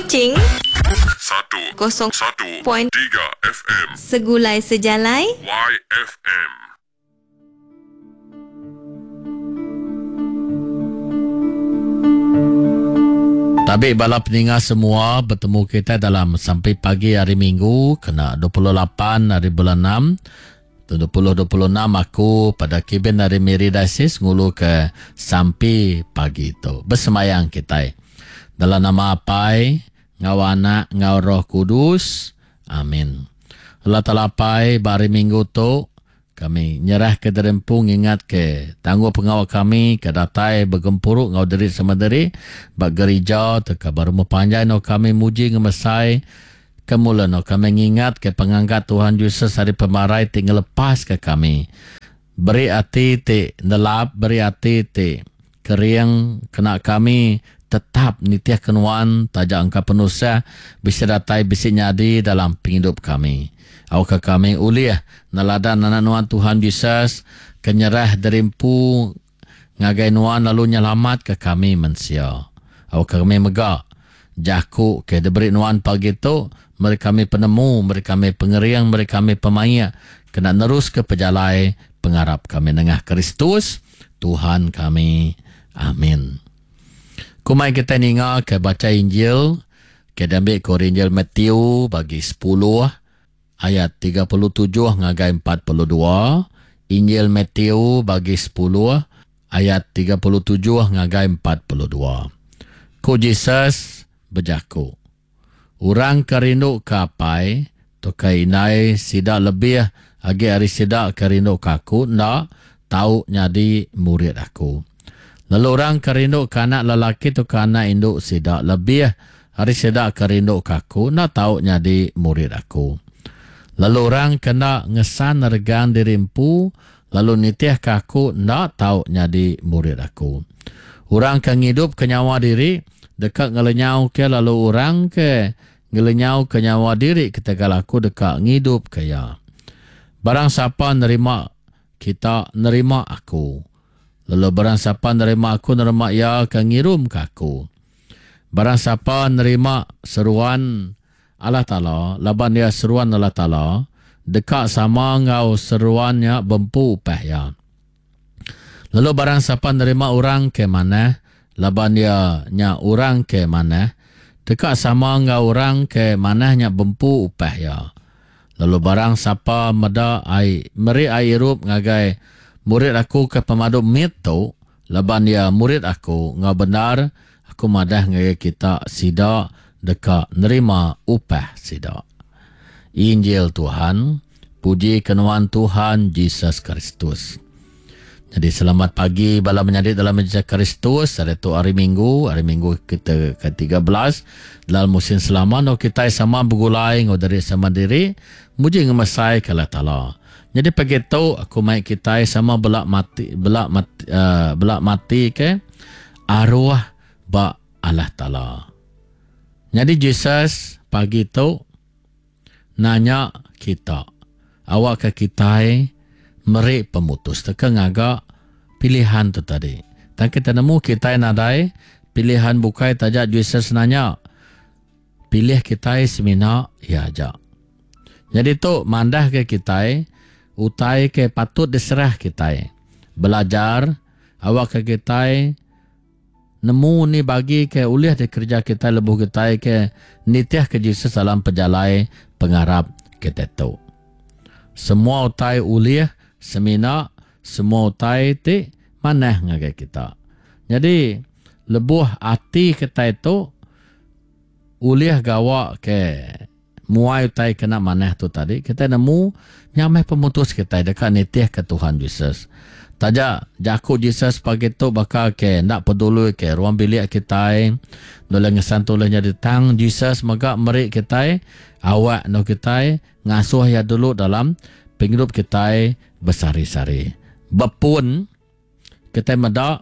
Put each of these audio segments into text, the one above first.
Kuching Satu kosong satu point tiga FM Segulai Sejalai YFM. Tabi bala peninga semua betemu kita dalam sampai pagi hari Minggu kena 28 hari bulan 6 2026 aku pada kibin hari Miri Diocese ngulu ke sampi pagi tu. Besemayang kita. Dalam nama Apai, ngau Anak, ngau Roh Kudus. Amin. Allah Taala Apai, ba hari Minggu tu, kami nyerah ke diri empu ngingat ke tangguh pengawa kami ke datai begempuru ngau diri sama diri ba gerija teka ba rumah panjai no kami muji ngemesai ke mula no kami ngingat ke pengangkat Tuhan Jesus ari pemarai ti ngelepas ke kami. Beri ati ti nelap, beri ati ti kering kena kami tetap nitih ke nuan taja engka penusah bisi datai bisi nyadi dalam pengidup kami. Awakka kami ulih neladan anak nuan Tuhan Jesus ke nyerah diri empu ngagai nuan lalu nyelamatka kami mensia. Awakka kami mega jaku ke diberi nuan pagi tu meri kami penemu, meri kami pengering, meri kami pemaik kena neruska pejalai pengarap kami nengah Kristus Tuhan kami. Amin. Kumai kita ninga ke baca Injil ke diambil ke Injil Matthew bagi 10 ayat 37 ngagai 42. Injil Matthew bagi 10 ayat 37 ngagai 42. Ku Jesus bejaku, Orang ke rindu ke apai tauka indai sida lebih agi ari sida ke rindu ke aku enda tau nyadi murid aku. Lalu orang ke rindu ke anak lelaki tauka anak indu sida lebih ari sida ke rindu ke aku enda tau nyadi murid aku. Lalu orang ke enda ngesan regang diri empu lalu nitihka aku enda tau nyadi murid aku. Orang ke ngidupka nyawa diri deka ngelenyauka lalu orang ke ngelenyauka nyawa diri ketegal aku deka ngidupka iya. Barang sapa nerima kita nerima aku. Lalu barang sapa nerima aku nerima iya ke ngirumka aku. Barang sapa nerima seruan Allah Taala laban iya seruan Allah Taala deka sama enggau seruan nya bempu upah iya. Lalu barang sapa nerima orang ke manah laban iya nya orang ke manah deka sama enggau orang ke manah nya bempu upah iya. Lalu barang sapa meda ai meri ai irup ngagai murid aku ke pemadu mit tu laban iya murid aku enggau bendar aku madah ngagai kita sida deka nerima upah sida. Injil Tuhan, puji ke nuan Tuhan Jesus Kristus. Jadi selamat pagi bala menyadi dalam Jesus Kristus. Hari tu hari Minggu, hari Minggu kita ke-13 dalam musim selama no kita sama begulai ngau diri sama diri muji ngemesai ke Allah Taala. Jadi pagi tu aku mai kita sama belak mati belak mati, uh, belak mati ke arwah ba Allah Taala. Nyadi Jesus pagi tu nanya kita awakka kitai meri pemutus teka ngaga pilihan tu tadi. Tang kita nemu kitai nadai pilihan bukai taja Jesus nanya pilih kitai semina iya aja. Nyadi tu mandah ke kitai utai ke patut diserah kitai. Belajar awakka kitai Nemu ni bagi ke ulih dikereja kitai lebuh kitai ke nitihka Jesus dalam pejalai pengarap kitai tu. Semua utai ulih semina semua utai ti manah ngagai kita. Nyadi lebuh ati kitai tu ulih gawa ke muai utai kena manah tu tadi, kitai nemu nya meh pemutus kitai deka nitihka Tuhan Jesus. Taja jaku Jesus pagi tu baka ke enda peduli ke ruang bilik kitai, nulung ngesan tu ulih nyadi tang Jesus mega meri kitai awak endur kitai ngasuh iya dulu dalam pengidup kitai besehari-sehari. Bepun kitai meda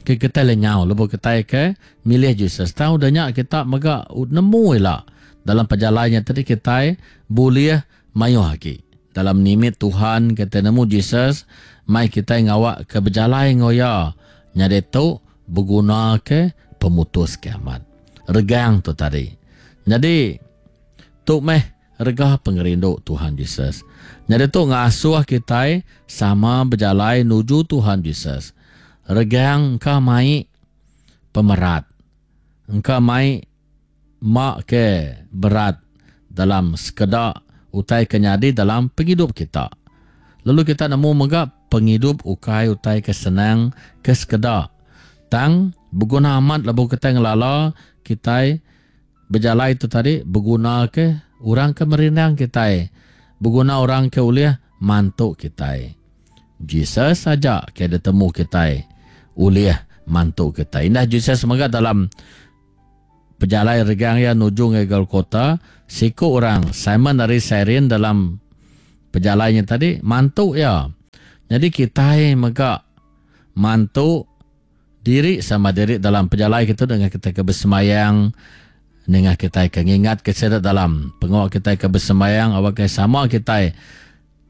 ke kitai lenyau lebuh kitai ke milih Jesus. Tang udah nya kita mega nemu ila dalam pejalai nya tadi kitai bulih mayuh agi. Dalam nimit Tuhan kitai nemu Jesus mai kitai ngawa ke bejalai enggau iya. Nyadi tu beguna ke pemutus ke amat. regang tu tadi. Nyadi tu meh rega pengerindu Tuhan Jesus. Nyadi tu ngasuh kitai sama bejalai nuju Tuhan Jesus. Regang engka mai pemerat. Engka mai ma ke berat dalam sekeda utai ke nyadi dalam pengidup kita. Lalu kita nemu mega pengidup ukai utai ke senang ke sekeda. Tang beguna amat lebuh kitai ngelala kitai bejalai tu tadi beguna ke orang ke merindang kitai, beguna orang ke ulih mantu kitai. Jesus aja ke ditemu kitai ulih mantu kitai. Indah Jesus mega dalam pejalai regang iya nuju ngagai Golgota, siku orang, Simon ari Sairin dalam pejalai nya tadi mantu iya. Nyadi kitai mega mantu diri sama diri dalam pejalai kitu dengan kitai ke besembayang nengah kitai ke ngingatka sida dalam pengawa kitai ke besembayang awakka sama kitai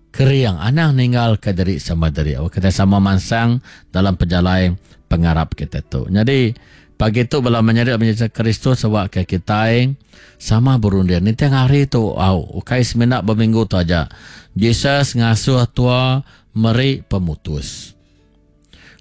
Kering, anang ninggalka diri sama diri. Awak kitai sama mansang dalam pejalai pengarap kitai tu. Nyadi, pagi tu bala menyadi menyadi Kristus awak ke kitai sama berunding. Ninting hari tu, au, ukai semina beminggu tu aja. Jesus ngasuh tua meri pemutus.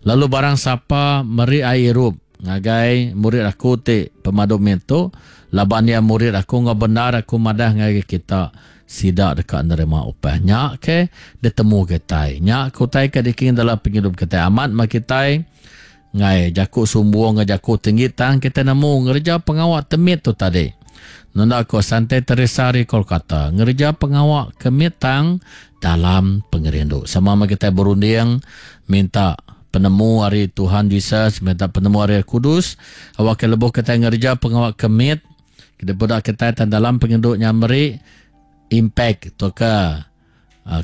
Lalu barang sapa meri ai irup ngagai murid aku ti pemadu mit tu, laban iya murid aku enggau bendar aku madah ngagai kita, sida deka nerima upah. Nya ke ditemu kitai. Nya ke utai ke diking dalam pengidup kitai. Amat meh kitai enggai jaku sumbung enggau jaku tinggi tang kitai nemu ngereja pengawa ti mit tu tadi. Nunda ko Sante Teresa ari Kolkata, ngereja pengawa ke mit tang dalam pengerindu. Sama meh kitai berunding minta penemu ari Tuhan Jesus, minta penemu ari Roh Kudus, awakka lebuh kitai ngereja pengawa ke mit, kita peda kitai tang dalam pengerindu nya meri impact tauka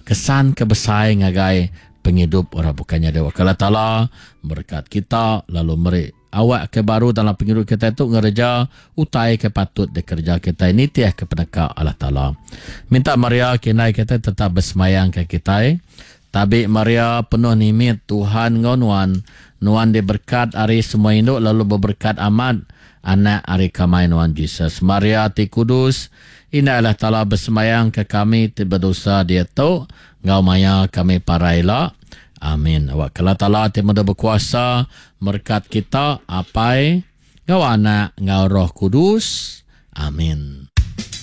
kesan ke besai ngagai pengidup orang bukai. Nyadi awakka Allah Taala merekat kita lalu meri Awak ke baru dalam pengidup kitai tu ngereja utai ke patut dikereja kitai nitih ke peneka Allah Taala. Minta Maria ke indai kitai tetap besemayang ke kitai. Tabi Maria penuh nimit Tuhan enggau nuan, nuan diberkat ari semua indu lalu beberkat amat anak ari kamai nuan Jesus. Maria ti kudus, indai Allah Taala besemayang ke kami ti bedosa diatu enggau maya kami parai ila. Amin. Awak ke Allah Taala ti meda bekuasa merekat kita, Apai, enggau Anak, enggau Roh Kudus. Amin.